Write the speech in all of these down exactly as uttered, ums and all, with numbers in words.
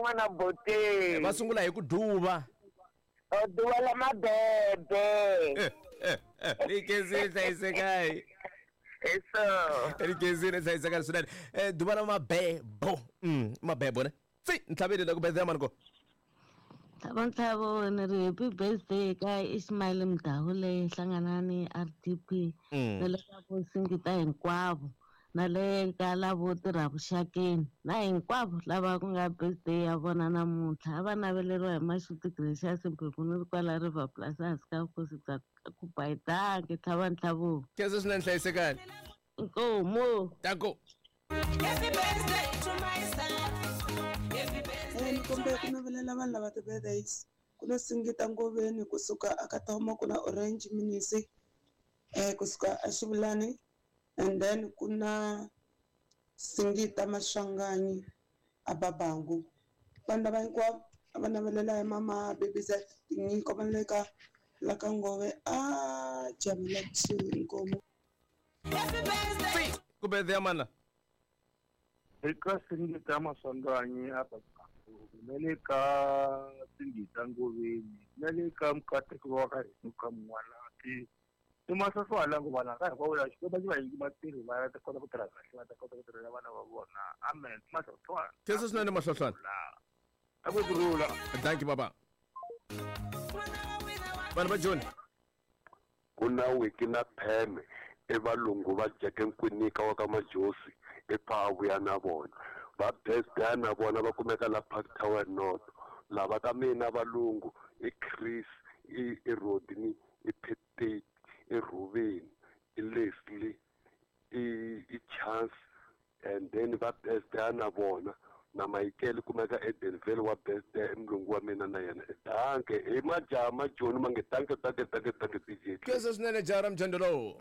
n'wana Boteng. Va sungula hi ku duva. O duva la mabebe. Ni khensile hlayisekai. Eso. Ni khensile hlayisekani swinene. Eh duva la mabebo. Mm, mabebo ne. Tsi, ntlhaveli la ku birthday mani ko. Ntlhavo ntlhavo ni ri happy birthday ka Ismail Mdawule Hlanganani R D P na le ka vo Singita hinkwavo na le ka lavo tirha vuxakeni na hinkwavo lava ku nga birthday ya vona namuntlha a va naveleriwa hi Mashuti Gracious Mphephu ni ri kwala River Plus hansi ka vukosi bya Kubayidange ntlhava ntlhavo. Khensa swinene hlayisekani. Inkomu. Danko. Happy birthday to myself. Ni kombela ku navelela vanhu lava ti-birthdays ku na Singita Ngoveni kusuka aka Thoma, ku na Orange Minisi eh kusuka aXivulani, and then ku na Singita Maswanganyi aBabangu. Vanhu lava hinkwavo a va navelela hi mama Baby Z tinyiko va le ka la ka Ngove a Jamila kusuhi inkomu. Tsi, ku birthday ya mani la? Eka Singita Maswanganyi a Babangu, na le ka Singita Ngoveni, na le ka Mukateko wa ka hina ka N'wanati. I mahlwahlwa ku vana ka hinkwavo laha Xikwembu xi va nyiki matirhi va ta kota ku tirha kahle, va ta kota ku tirhela vana va vona. Amen. Mahlwahlwa. Khensa swinene mahlwahlwana. A ku kurhula. Thank you baba. Vanhu va Joni. Ku na wiki na pheme e valungu va Jeke Nkwinika wa ka Majosi e pha vuya na vona. Va birthday na vona va kumeka la Park Tower North. Lava ka mina valungu i Chris, i i Rodney, i Petit, i Ruben, i Leslie, i i Chance, and then va birthday na vona na Michael kumeka Edenville wa birthday mulungu wa mina na yena. Danke i majaha majoni mange danke danke danke danke D J. Khensa swinene jaha ra mjando lowu.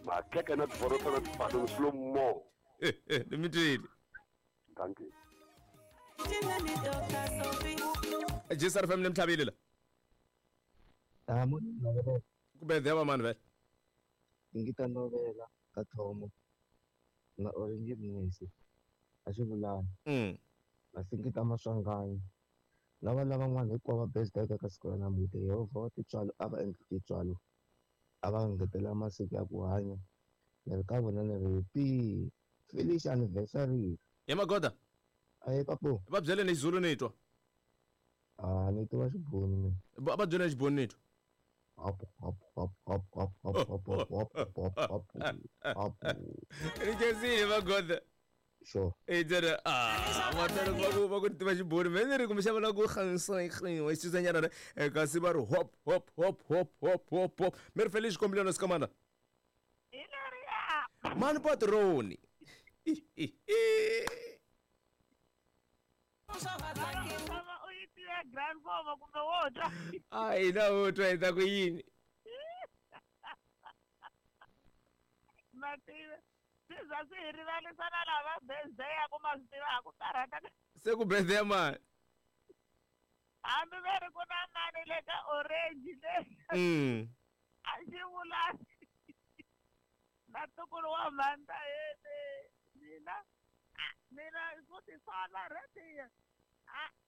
Makhekhe na tiborota na tibaloni slow mo. Eh eh ni mi twile. Danke. G S R F M ni mtlhavile la. Tamo novela. Ku birthday ya mani vele? Singita Novela ka Thomo na Orange Minisi aXivulani. Mm. Na Singita Maswanganyi. Lava lavan'wana hinkwavo va birthday ka siku ra namuntlha Yehovha wa tintswalo a va endli tintswalo a va ngetela masiku ya ku hanya. Ni ri ka vona ni ri happy Felicia anniversary. Ya magoda. Ayi papu. Va byele ni Zulu ni twa. Ah ni tiva Xibunu mina. Va byele Xibunu ni twa. Hop hop hop hop hop hop hop hop hop hop hop hop. Ni khensile magoda. Sure. E tsena ah va tala va ku va ku tiva Xibunu me ni ri kumbexana va ku khansa wa xisanyana re kasi va ri hop hop hop hop hop hop hop. Mi ri Felicia kombelelo sikamana. Mani patroni. A hi na wo twa hi ta ku yini? Mativa swi za swi hi rivalisa na lava birthday ya ku ma swi tiva ku karhata. Se ku birthday mani? Hambi va ri ku na mani le ka orange le. Mm. A xi vulani. Na ntukulu wa mhanda yene mina mina ku tisola rediyo.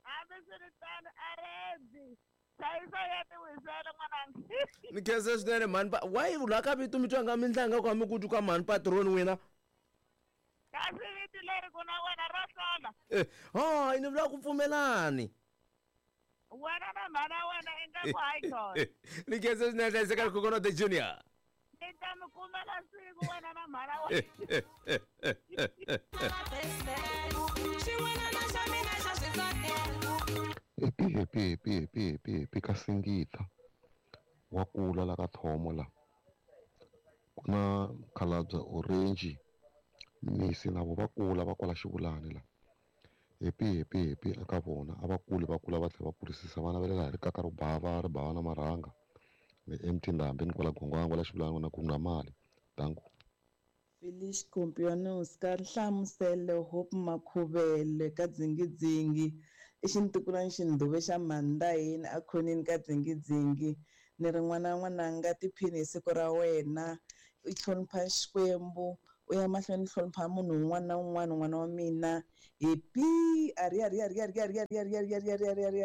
Hambi swi ri tano a ready. Hlayisa ya ti wisela n'wananga. Ni khensa swinene mhani pa why la ka vito mi twa nga mi ndlanga ku mi ku twa ka mhani patroni wena. Kasi vito leri ku na wena ra hlola. Eh, hayi ni vula ku pfumelani. Wena na mhana wena i nga ku hayi khona. Ni khensa swinene hlayiseka Coconut the Junior. Ni ta mi kumela siku wena na mhana wena. Happy happy happy happy happy happy ka Singita wa kula la ka Thomo la. Ku na Khalabya Orange Minisi na vo va kula va kwala Xivulani la. Happy happy happy eka vona a va kuli va kula va tlhela va kurisisa vana va le laha ri kaka ro bava ri bava na marhanga. Ni M T Ndhambi ni kwala Gongwango la Xivulani na ku na mali. Danko. Felicia Compianos ka Nhlamuselo Hope Makhuvele ka Dzingidzingi i xintukulwana xindhuve xa Mandaheni a khoneni ka Dzingidzingi ni ri n'wana n'wananga tiphini hi siku ra wena i hlonipha Xikwembu U ya mahlweni hlonipha munhu un'wana na un'wana n'wana wa mina. Happy ari ari ari ari ari ari ari ari ari ari ari ari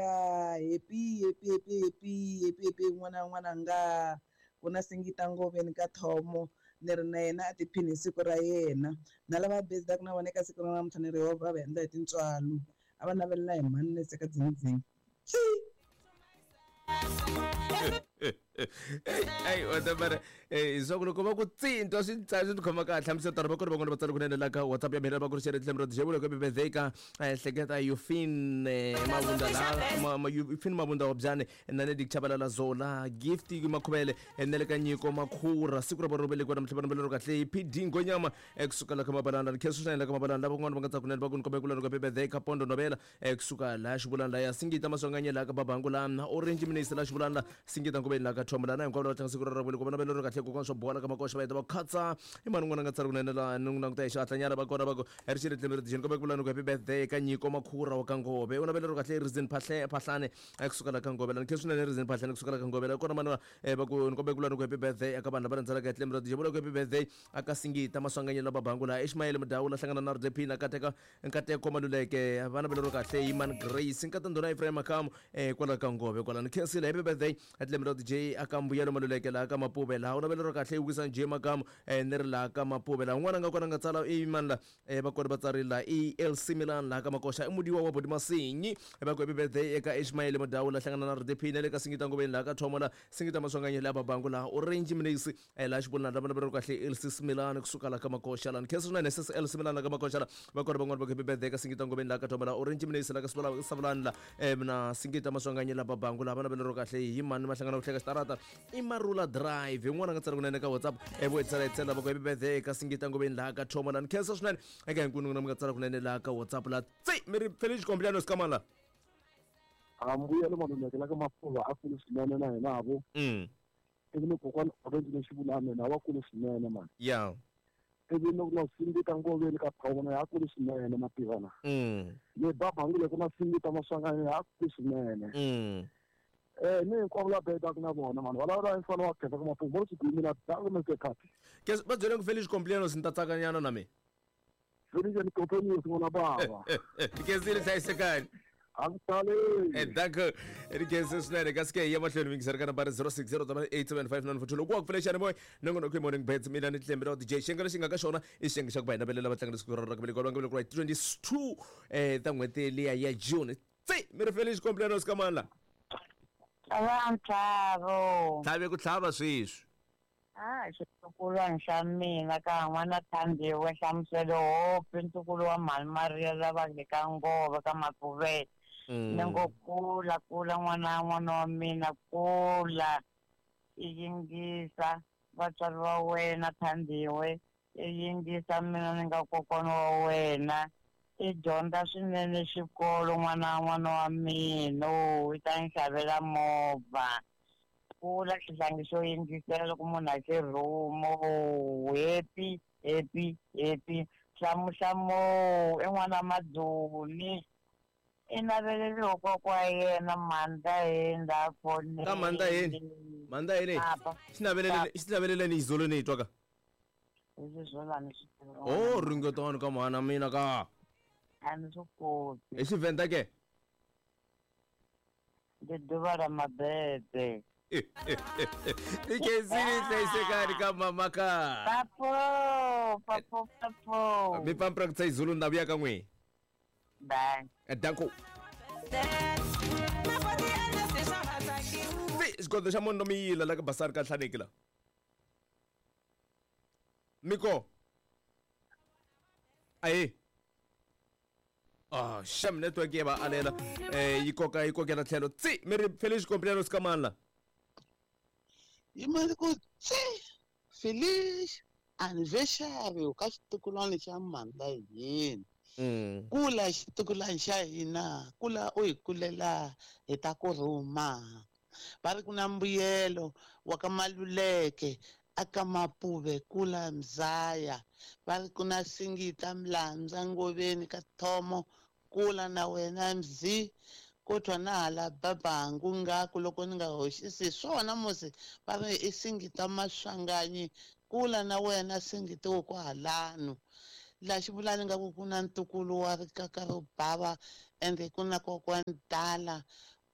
happy happy happy happy happy happy n'wana n'wananga. Ku na Singita Ngoveni ka Thomo ni ri na yena a tiphini hi siku ra yena. Na lava bezaka na vona eka siku ra namuntlha ni ri Yehovha a va endla hi tintswalo. A va navelela hi mhani nese ka dzingidzing. Hey, whatever. Eh, swa ku loko va ku tsintwa swi swi khoma kahle hlamusela tani va kona van'wana va tsala kunene la ka WhatsApp ya mina va ku ri xere tlhelo ra dijebula ka bebezeka hleketa Yufin Mabunda la Yufin Mabunda wa byane na ne dikchabalala zola gift makhubele nele ka nyiko makhura siku ra borobele kwa namhla bana kahle P D Ngonyama ekusuka la ka mabalana khesu xana la ka mabalana lava van'wana va nga tsaka kunene va ku nikombe ku la ka bebezeka pondo novela ekusuka la xivulana la ya Singita Maswanganye la ka babangu la Orange Minister la xivulana la Singita Ngobeni la ka Thomla na hinkwavo lava tlanga siku ra ravele ku vona vele ro kahle kokwana swo bola ka makoxa va heta va khatsa i mani n'wana nga tsari kunene la ni n'wi languta hi xihatlanyana va kona va ku ri xi ri tlhelo ri kombe ku vula ku happy birthday ka Nyiko Makhura wa ka Ngove u na vele ro kahle Rizin Phahle Phahlane ekusuka la ka Ngove la ni khensa swinene Rizin Phahlane kusuka la ka Ngove la kona mani va ku ni kombe ku vula ku happy birthday eka vanhu lava rhandzelaka hi tlhelo ri dijebula ku happy birthday aka Singita Maswanganye la Babangu la Ishmael Mudawula hlangana na R D P na Kateka Nkateko Maluleke vana vele ro kahle Iman Grace nkata ndhuna Ephraim Makamu kwala ka Ngove kwala ni khensile happy birthday tlhelo ra D J aka Mbuyelo Maluleke la ka Mapuve la u navele ro kahle wisa J Makamu ni ri la ka Mapuve la un'wana nga kona nga tsala i mani la va kona va tsarila E L C Milan la ka Makoxa i mudiwa wa Bodi Masinyi va ku happy birthday eka Ishmael Mudawula hlangana na R D P na le ka Singita Ngobeni la ka Thomo la Singita Maswanganye la Babangu la Orange Minisi la xivulana la vana va ro kahle L C Milan kusuka la ka Makoxa la ni khensa swinene S L C Milan la ka Makoxa la va kona van'wana va ku happy birthday eka Singita Ngobeni la ka Thomo la Orange Minisi la ka Savulani la na Singita Maswanganye la Babangu la vana va ro kahle hi mani ma hlangana ku hleka xitarata i Marula Drive yin'wana nga tsala kunene ka WhatsApp evo hi tsala hi tsala va ku happy birthday ka Singita Ngobeni laha ka Thomo la ni khensa swinene eka hinkwenu n'wina mi nga tsala kunene laha ka WhatsApp la tsi mi ri Felix Kombiano Sikamala a mbuyelo Maluleke la ka Mapuva a kulu swinene na hina vo ivi ni kokwana Orange lexivulana na wa kulu swinene mani ya ivi ni ku na Singita Ngoveni ka Phawona ya kulu swinene mativana ni Babangu le ku na Singita Maswanganye ya kulu swinene eh ni hinkwavo la bedaka na vona mani va lava mfana wa khetha ka Mapuva vo swi mina dango me ke khathi ke va byele ku Felix Kombiano ni ta tsakanyana na mina Felix ni kopeni n'wana bava ke zile hlayisekani Angitali. Danko ri swinene kasi ke ya mahlweni mingiseri ka nambara zero six zero eight seven five nine four two loko wa ku pfulexani boy nongonoko morning bets mina ni Tlembe ra D J xiyenge lexi nga ka xona i xiyenge xa ku va hi navelela vatlangi siku ra ra ku velekiwa va nga velekiwa hi twenty-two eh ta n'hweti liya ya June tsi mi ri Felix Kombiano Sikamala Tlhavo. Tlhave ku tlhava sweswi. Ah, xitukulwana xa mina ka n'wana Thandiwe Nhlamuselo Hope ntukulu wa Mhani Maria lava le ka Ngove ka Mapuvele. Ni ngo kula kula n'wana n'wana wa mina kula i yingisa vatswari va wena Thandiwe i yingisa mina ni nga kokwana wa wena i dyondza swinene xikolo n'wana n'wana wa mina i ta ni xavela movha kula xihlangi xo yingisela loko munhu a xi rhumo happy happy happy hlamuhlamo i n'wana Madzuni i naveleliwa kokwa yena Mandla fonini ka Mandla yini Mandla yini xi naveleleni xi naveleleni izolo ni twa ka oh ringetani ka mhana mina ka a ni swi koti hi Xivenda ke ndi ḓuvha la mabebe Nikezini hlayisekani ka mama ka papo papo papo mi pampra ku izulu na vuya ka n'wi bye danko xigodo xa munhu mi yila la ka basari ka hlaneki la miko aye ah sham network ya ba alela eh yi koka yi kokela tlhelo tsi mi ri Felix Kombiano Sikamala Yimali ku tsi Felix anniversary ka xitukulwana xa Mandla yini kula xitukulwana xa hina kula u hi kulela hi ta ku rhuma va ri ku na mbuyelo wa ka Maluleke aka Mapuve kula Mzaya va ri ku na Singita Mlandza Ngoveni ka Thomo kula na wena Mzi kodwa na hala Babangu ngaku loko ni nga hoxisi swona musi va ri i Singita Maswanganyi Kula na wena Singita kwalano. La xivulani nga ku ku na ntukulu wa rikaka ro bava ende ku na kokwani Dala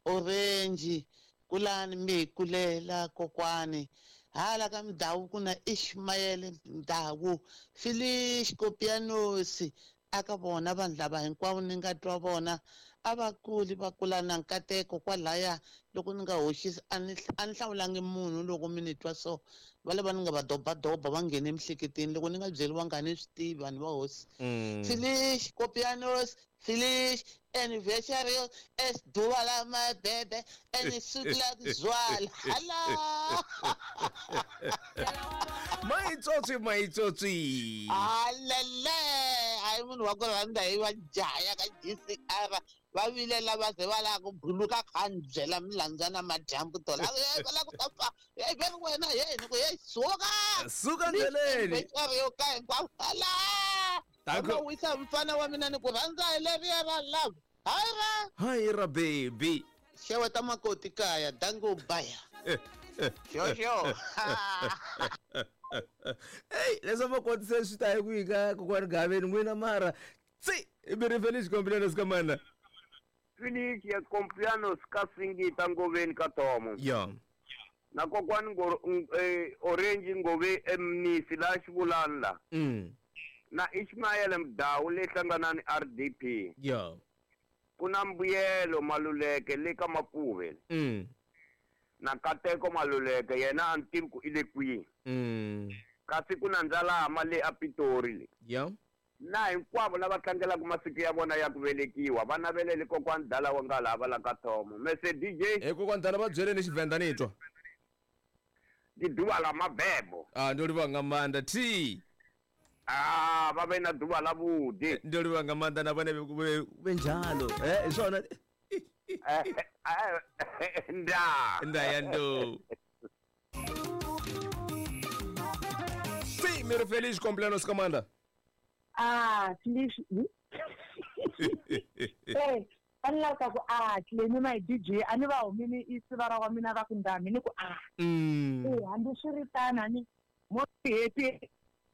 Orange kulani mi kulela kokwani hala ka Mdawu ku na Ishmael Mdawu Felice Kopianosi aka vona vanhu lava hinkwavo ni nga twa vona a va kuli va kula na nkateko kwalaya loko ni nga hoxisi a ni a ni hlawulangi munhu loko mi ni twa so va lava ni nga va dobadoba va nghene emiehleketweni loko ni nga byeriwanga a ni swi tivi vanhu va hosi. Felice Kopianos Felice anniversary es duva la mabebe and sukla zwala hala maitsotsi maitsotsi alele hayi munhu wa ku rhandza hi va jaya ka G C R va vilela va ze va lava ku buluka kha ni byela milandzana madyambu tola va lava ku ta fa hey ve wena hey ni ku hey suka suka ndleleni yo ka hinkwavo hala Danko. Wisa mfana wa mina ni ku rhandza hi leriya ra love hayi ra hayi ra baby xeweta makoti kaya dango baya xo xo hey leswi makoti se swi ta hi kwihi ka kokwani Gaveni n'wina mara tsi mi ri Felice Complianos ka mana Felice Complianos ka Singita Ngoveni ka Tomo ya na kokwani eh, Orange Ngove Emnisi la xivulani la mm. na Ishmael Mdawu le hlanganani R D P ya ku na Mbuyelo Maluleke le ka Mapuve mm. na Kateko Maluleke yena a ni tivi ku i le kwihi mm. kasi ku na Ndzalama le a Pitori le ya na hinkwavo lava tlangelaka masiku ya vona ya ku velekiwa va navelele kokwani Dala wa nga lava la ka Thomo mese D J e kokwani Dala va byeleni Xivenda ni twa ndi duva la mabebo ah ndo livha nga maanḓa t ah va ve na duva la vhuḓi ndo livha nga maanḓa na vhone vhe njalo eh swona nda nda ya ndo si mi ri Felice Complianos ka maanḓa ah Felice eh a ni lava ku a Clemi my D J a ni va humini i siva ra wa mina va ku ndami ni ku a eh hambi swi ri tano ni mo happy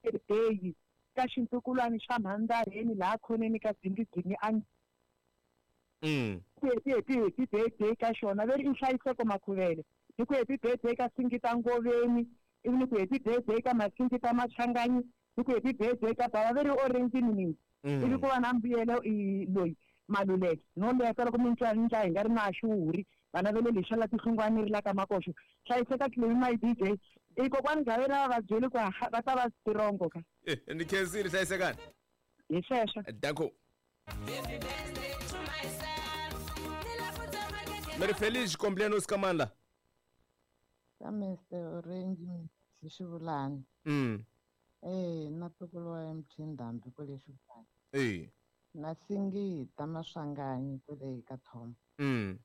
birthday ka xintukulwana xa mhandzaheni laha khoneni ka dzingidzini a mm happy happy happy birthday ka xona veri i Nhlayiseko Makhuvele ni ku happy birthday ka Singita Ngoveni ivi ni ku happy birthday ka Masingita Machangani ni ku happy birthday ka bava veri Orange Minisi ivi ku va na Mbuyelo i loyi Maluleke no leta loko mi twa ndla hi nga ri na xuhuri vana va le lexa la tihlungwani ri la ka makoxo hlayiseka Clemi my D J i kokwani Gaveni va va byeli ku va ta va tirongo ka ni khensile hlayisekani hi sweswo danko mi ri Felice Complianos ka mandla ka Mister Orange hi xivulani mm eh na ntukulu wa M T Ndhambi kwale xivulani eh na Singita Maswanganyi kwale ka Thomo mm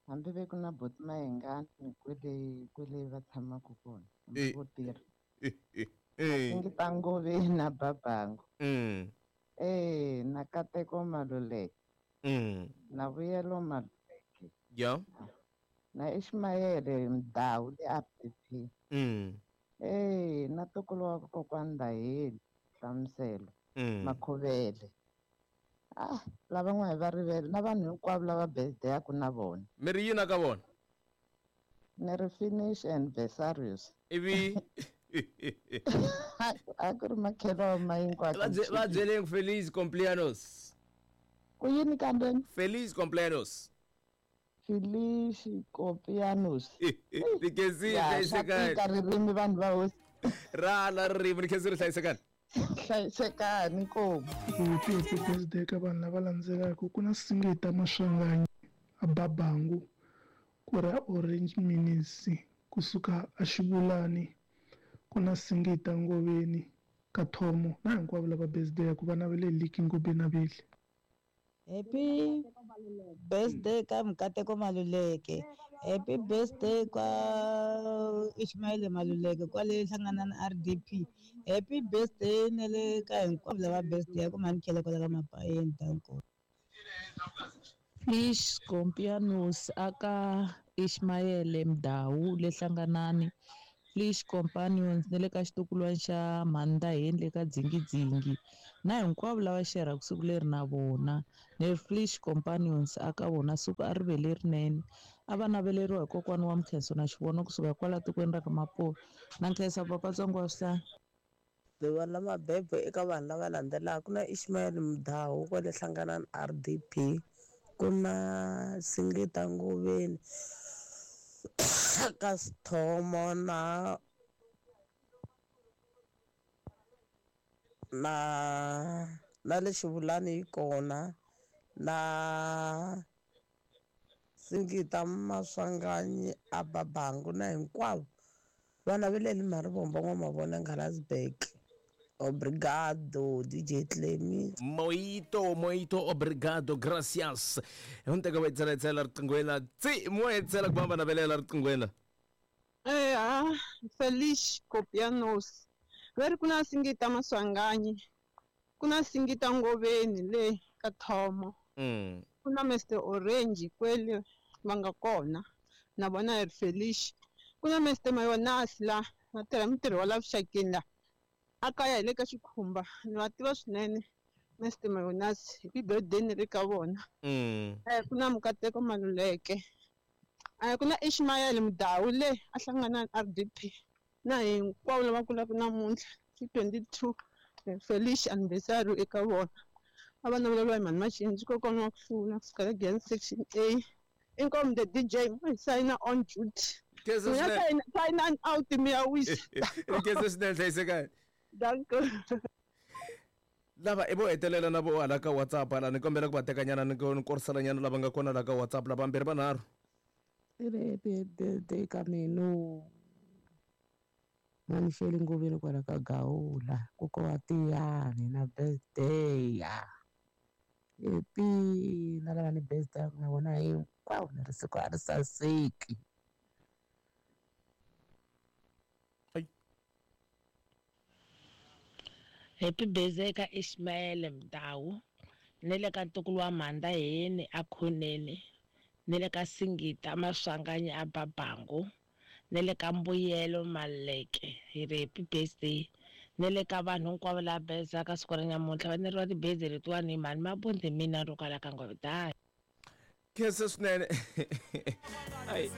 hambi ve ku na boti Mayengani kwele kwele va tshamaka kona hambi vo tirha Singita Ngoveni na Babango mm eh na Kateko Maluleke mm na Vuyelo Maluleke ya na Ishmael Mdawu le R D P mm eh na ntukulu wa kokwani Ndaheli Hlamuselo mm Makhuvele ah lavan'wana va rivele na vanhu hinkwavo lava birthday-aku na vona mi ri yini ka vona ni ri Finish and Vesarius ivi a ku ri makhelo ma hinkwako va byeleni Felice Complianos ku yini kambe Felice Complianos Felice Complianos ni khensile hlayisekani ka ririmi vanhu va hosi ra la ririmi ni khensile hlayisekani hlayisekani inkomu happy happy birthday ka vanhu lava landzelaka ku na Singita Maswanganyi a Babangu ku ra Orange Minisi kusuka a Xivulani ku na Singita Ngoveni ka Thomo na hinkwavo lava birthday ku va navele liki Ngobeni naveli Happy birthday ka Mkateko Maluleke. Happy birthday ka Ishmael Maluleke kwale hlangana na R D P. Happy birthday nele ka hinkwavo lava birthday ya ku mani khele kwala ka mapayeni danko. Felice Complianos aka Ishmael Mdawu le hlanganani. Flesh Companions na le ka xitukulwana xa Mhandaheni le ka Dzingidzingi na hinkwavo lava xerhaka siku leri na vona. Ni ri Flesh Companions a ka vona siku a ri ve lerinene. A va naveleriwa hi kokwana wa Mkhenso na Xivono kusuka kwala tikweni ra ka Mapuve. Na nkhensa papa Tsongo wa swihlahla. Ḓuvha ḽa mabebo eka vanhu lava landzelaka ku na Ishmael Mudau kwale Hlanganani R D P, ku na Singita Ngoveni ka Sithomo na na na le Xivulani yi kona na Singita Maswanganyi a Babangu na hinkwavo vana va le Marivombo N'wamavona Nghalasburg. Obrigado, D J Clemi. Muito, muito obrigado, gracias. Hunteka wa itsela itsela riqingweni tsi mo itsela ku hamba navelela riqingweni. Eh ah, Feliz Copianos. Veri kuna Singita Maswanganyi. Kuna Singita Ngoveni le ka Thomo. Mm. Kuna Mister Orange kwele va nga kona. Na vona ri Feliz. Kuna Mister Mayonas la va tirha mintirho wa la vuxakeni la. A kaya hi le ka Xikhumba ni va tiva swinene Mister Mayonas hi birthday ni ri ka vona. Mm. Eh ku na Mukateko Maluleke. Eh ku na Ishmael Mudau le a hlangana na R D P na hinkwavo lava kulaka namuntlha ti twenty-two Felice anniversary eka vona. A va naveleriwa hi mhani Machinji kokwana wa ku hlula kusuka ka Glen section A. Inkomu the D J mo sign on duty. Khensa Mina swinene. sign sign out mi ya wisa. Khensa swinene hlayisekani. Danko. Lava i vo hetelela na vo hala ka WhatsApp hala ni kombela ku va tekanyana ni ni koriselanyana lava nga kona la ka WhatsApp lava vambirhi vanharhu. I ri happy birthday ka mina Mhani Sheli Ngoveni kwala ka Gawula koka wa Tiyani na birthday ya happy na lava ni birthday na vona hinkwavo ni ri siku a ri saseki. Happy birthday ka Ishmael Mdau ni le ka ntukulu wa Mhandaheni a Khoneni ni le ka Singita Maswanganyi a Babangu ni le ka Mbuyelo Maleke hi ri happy birthday ni le ka vanhu hinkwavo lava bezaka siku ra namuntlha va neriwa ti-birthday letiwani hi mhani Mabundi mina ro kala ka Ngove. Khensa swinene. Ai.